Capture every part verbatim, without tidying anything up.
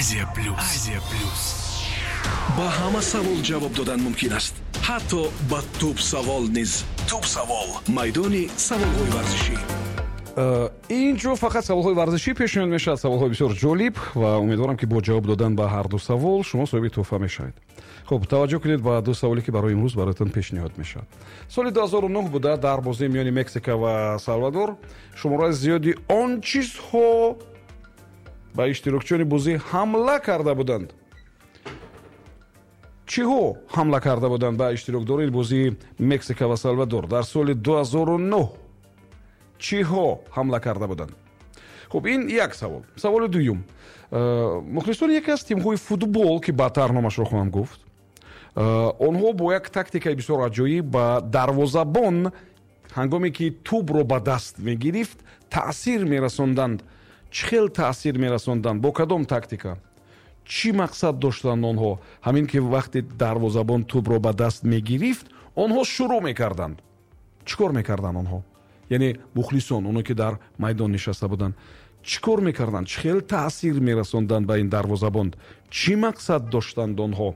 Азия Плюс. Азия Плюс. Ба ҳама савол ҷавоб додан мумкин аст, ҳатто ба туп савол низ. Туп савол, майдони саволҳои варзишӣ. Э, ин ҷо фақат саволҳои варзишӣ пешниҳод мешавад, саволҳои бисёр ҷолиб, ва умедворам, ки бо ҷавоб додан ба ҳар ду савол шумо соҳиби тӯҳфа мешавед. Хуб, таваҷҷӯҳ кунед ба ду саволе, ки барои имрӯз бароятон пешниҳод мешавад. Соли ду ҳазору нӯҳ буда, дар бозии миёни Мексика ва Салвадор шумораи зиёди он чизҳо ба иштирокчиёни бозӣ ҳамла карда буданд. Чиҳо ҳамла карда буданд ба иштирокдорони бозии Мексика ва Салвадор дар соли ду ҳазору нӯҳ? Чиҳо ҳамла карда буданд? Хуб, ин як савол. Саволи дуюм. э, мухлисони яке аз тимҳои футбол, ки баъдтар номашро хоҳам гуфт, э, онҳо бо як тактикаи бисёр аҷоиб ба дарвозабон, ҳангоме ки тӯбро ба даст мегирифт, таъсир мерасонданд. Чӣ хел таъсир мерасонданд? Бо кадом тактика? Чӣ мақсад доштанд онҳо? Ҳамин ки вақте дарвозабон тӯбро ба даст мегирифт, онҳо шурӯъ мекарданд. Чӣ кор мекарданд онҳо? Яъне мухлисон, оно ки дар майдон нишаста буданд, чӣ кор мекарданд? Чӣ хел таъсир мерасонданд ба ин дарвозабон? Чӣ мақсад доштанд онҳо?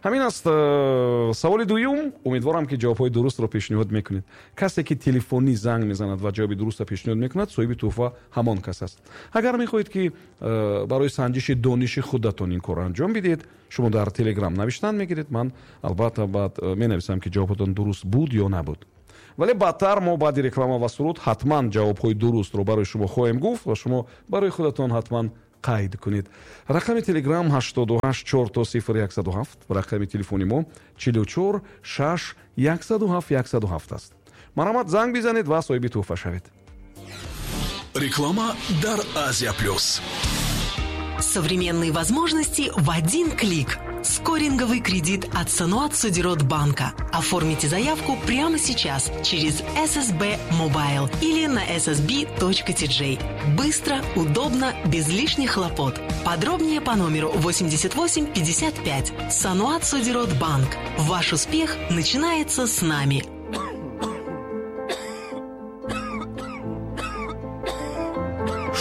Ҳамин аст э, саволи дуюм. Умедворам, ки ҷавобҳои дурустро пешниҳод мекунед. Касе ки телефонӣ занг мезанад ва ҷавоби дурустро пешниҳод мекунад, соҳиби тӯҳфа ҳамон кас аст. Агар мехоҳед, ки э, барои санҷиши дониши худатон ин корро анҷом бидиҳед, шумо дар Телеграм навиштан мегиред. Ман албатта баъд э, менависам, ки ҷавобатон дуруст буд ё набуд. Вале баъдтар мо баъди реклама ва суруд ҳатман ҷавобҳои дурустро барои шумо хоҳем гуфт ва шумо барои худатон ҳатман қайд кунед. Рақами Телеграм ҳаштоду ҳашт чор то сифр яксаду ҳафт, рақами телефони мо чилу чор шаш яксаду ҳафт яксаду ҳафт аст. Марҳамат, занг бизанед ва соҳиби тӯҳфа шавед. Реклама дар Азия Плюс. Современные возможности в один клик. Скоринговый кредит от Саноат Содирот Банка. Оформите заявку прямо сейчас через S S B Mobile или на S S B точка T J. Быстро, удобно, без лишних хлопот. Подробнее по номеру восемьдесят восемь пятьдесят пять. Саноат Содирот Банк. Ваш успех начинается с нами.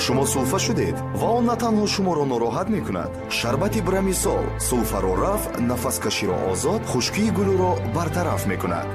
Шумо сулфа шудед ва он на танҳо шуморо нороҳат мекунад. Шарбати Брамисол сулфаро рафъ, нафаскаширо озод, хушкии гулӯро бартараф мекунад.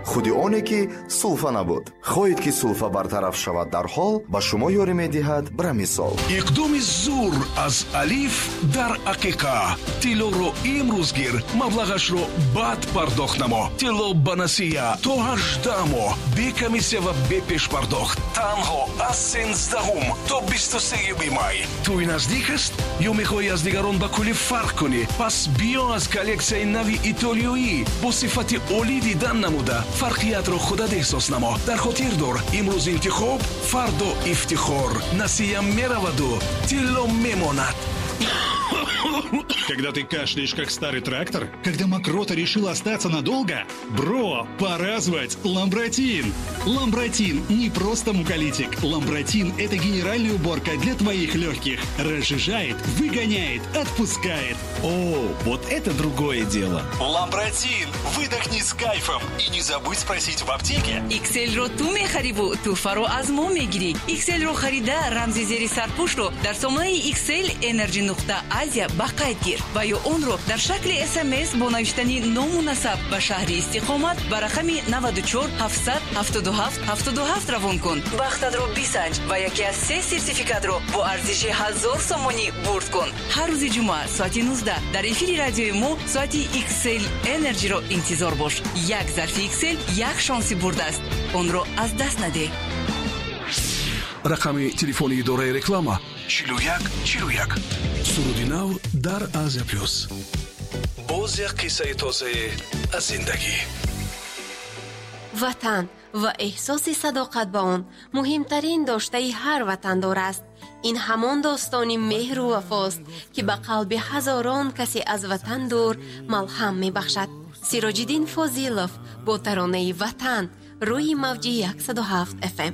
Худи оне ки сулфа набуд. Хоҳед, ки сулфа бартараф шавад дар ҳол, ба шумо ёрӣ медиҳад Брамисол. Иқдоми зур аз Алиф дар ақиқа: тиллоро имрӯз гир, маблағашро баъд пардохт намо. Тилло ба насия то ҳаждаҳ моҳ, бе комиссия ва бе пешпардохт, танҳо аз сенздаҳум то бисту сеюми май. Тӯй наздик аст ё мехоҳӣ аз дигарон ба куллӣ фарқ кунӣ? Пас биё, аз коллексияи нави итолиёӣ бо сифати олӣ дидан намуда, фарқиятро худат эҳсос намо. Дар хотир дор: имрӯз интихоб, фардо ифтихор. Насия мераваду тилло мемонад. Когда ты кашляешь, как старый трактор? Когда мокрота решила остаться надолго? Бро, пора звать Ламбратин! Ламбратин не просто муколитик. Ламбратин – это генеральная уборка для твоих легких. Разжижает, выгоняет, отпускает. О, вот это другое дело. Ламбратин! Выдохни с кайфом. И не забудь спросить в аптеке. Икселро ту мехариву тӯҳфаро аз мо мегирӣ. Икселро харида, рамзи зери сарпӯшро дар сомонаи Иксел Energy нуқта Азия ба қайд гир ва ё онро дар шакли С М С бо навиштани ному насаб ва шаҳри истиқомат ба рақами наваду чор ҳафтсад ҳафтоду ҳафт ҳафтоду ҳафт равон кун. Бахтатро бисанҷ ва яке аз се сертификатро бо арзиши ҳазор сомонӣ бурд кун. Ҳар рӯзи ҷумъа соати нуздаҳ дар эфири радиои мо соати Иксел Энерҷиро интизор бош. Як зарфи Иксел як шонси бурд аст, онро аз даст надеҳ. Рақами телефони идораи реклама чилу як чилу як. Суруди нав дар Азия Плюс, боз як қиссаи тозае аз зиндагӣ. Ватан ва эҳсоси садоқат ба он муҳимтарин доштаи ҳар ватандор аст. Ин ҳамон достони меҳру вафост, ки ба қалби ҳазорон касе аз ватан дур малҳам мебахшад. Сироҷиддин Фозилов бо таронаи «Ватан» рӯи мавҷи яксаду ҳафт F M.